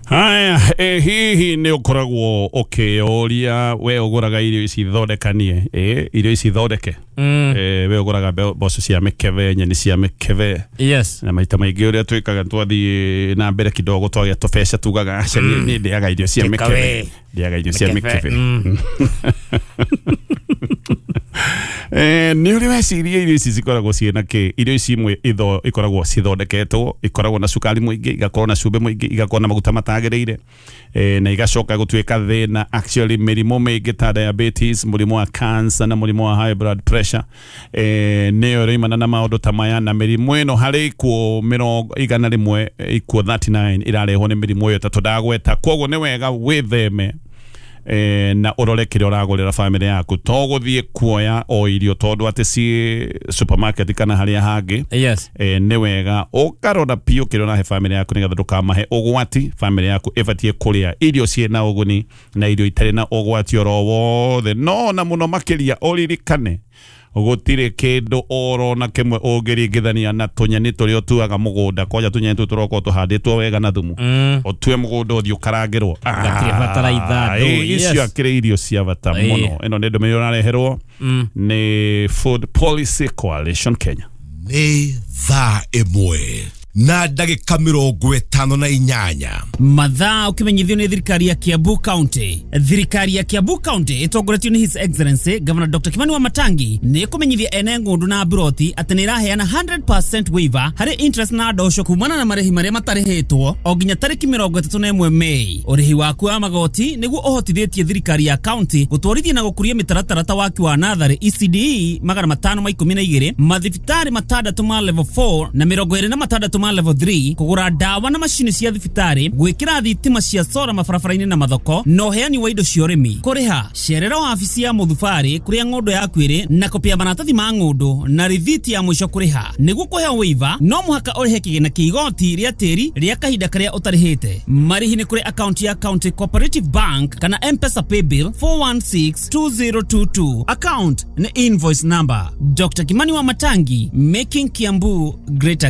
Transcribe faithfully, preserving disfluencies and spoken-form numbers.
Haya, eh, hihi nĩ ũkoragwo ũkĩyũria we ũgũraga irio ici thondekanie, eh, irio ici thondeke? Mm. Eh, we ũgũraga mbe- mboco cia mĩkebe, nyeni cia mĩkebe? Yes. Na maita maingĩ ũrĩa twĩkaga twathiĩ na mbere kidogo twagĩa tũbeca tugaga aca, niĩ niĩ ndĩaga irio cia Take mĩkebe, away. ndĩaga irio cia Mĩkebe. mĩkebe. Mm. Eh, nĩ ũrĩ weciria irio ici cikoragwo ciĩna kĩ? Irio ici imwe itho ikoragwo cithondeketwo, ikoragwo na cukari mũingĩ, igakorwo na cumbĩ mũingĩ, igakorwo na maguta matagĩrĩire, eh, na igacoka gũtuĩka thĩna. Actually mĩrimũ mĩingĩ ta diabetes, mũrimũ wa cancer na mũrimũ wa high blood pressure, eh, nĩyo ĩroimana na maũndũ ta maya. Na mĩrimũ ĩno harĩ ikuũ mĩrongo igana rĩmwe, ikuũ mĩrongo ĩtatũ na kenda irarehwo nĩ mĩrimũ ĩyo ĩtatũ ndagweta. Koguo nĩ wega wĩtheme, eh, na ũrore kĩrĩa ũragũrĩra bamĩrĩ yaku, to gũthiĩ kuoya o irio tondũ atĩ ciĩ supermarket kana harĩa hangĩ. Yes. eh, nĩ wega ũkarora biũ kĩrĩa ũrahe bamĩrĩ yaku nĩgetha ndũkamahe ũgwati. Bamĩrĩ yaku ĩbatiĩ kũrĩa irio ciĩna ũguni na irio itarĩ na ũgwati oro wothe. No na mũno makĩria ũririkane gũtirĩ kĩndũ oro na kĩmwe ũngĩringithania na tũnyeni tũrĩa ũtuaga mũgũnda. Kwanja tũnyeni tũtũ tũrokorwo tũhandĩtwo wega na thumu, Mm. ũtue mũgũnda ũthiĩ ũkarangĩrwo. Gatirĩ bataraitha, Ah, ndũ, icio yes. akĩrĩ irio cia bata Ĩĩ. mũno. Ĩno nĩ ndũmĩrĩri ũrareherwo Mm. nĩ Food Policy Coalition Kenya. Nĩ thaa ĩmwe na ndagĩka mĩrongo ĩtano na inyanya. Mathaa ũkĩmenyithio nĩ thirikari ya Kiambu County. Thirikari ya Kiambu County ĩtongoretio nĩ His Excellency Governor Doctor Kimani wa Matangi nĩ ĩkũmenyithia ene ng'ũndũ na mburoti atĩ nĩ ĩraheana hundred percent waiver harĩ interest na ndosho kumana na marĩhi marĩa matarĩhĩtwo o nginya tarĩki mĩrongo ĩtatũ na ĩmwe Mei. Ũrĩhi waku wa magoti nĩguo ũhotithĩtie thirikari ya county gũtwarithia na gũkũria mĩtaratara ta waki wa natharĩ E C D E magana matano ma ikũmi na igĩrĩ, mathibitarĩ matandatũ ma level four na mĩrongo ĩrĩ na matandatũ ma level three, kũgũra ndawa na macini cia thibitarĩ, gwĩkĩra thitima cia sora mabarabara-inĩ na mathoko, na ũheani wa indo cia ũrĩmi. Kũrĩha, cerera wabici ya mũthubarĩ kũrĩa ng'ũndũ yaku ĩrĩ na kopi ya maratathi ma ng'ũndũ na rithiti ya mũico kũrĩha. Nĩguo kũheo waiver no mũhaka ũrĩhe kĩgĩna kĩa igoti rĩa tĩri rĩa kahinda karĩa ũtarĩhĩte. Marĩhi nĩ kũrĩ akaunti ya County Cooperative Bank kana M-Pesa paybill four one six two zero two two, account nĩ invoice number. Doctor Kimani wa Matangi, making Kiambu great again.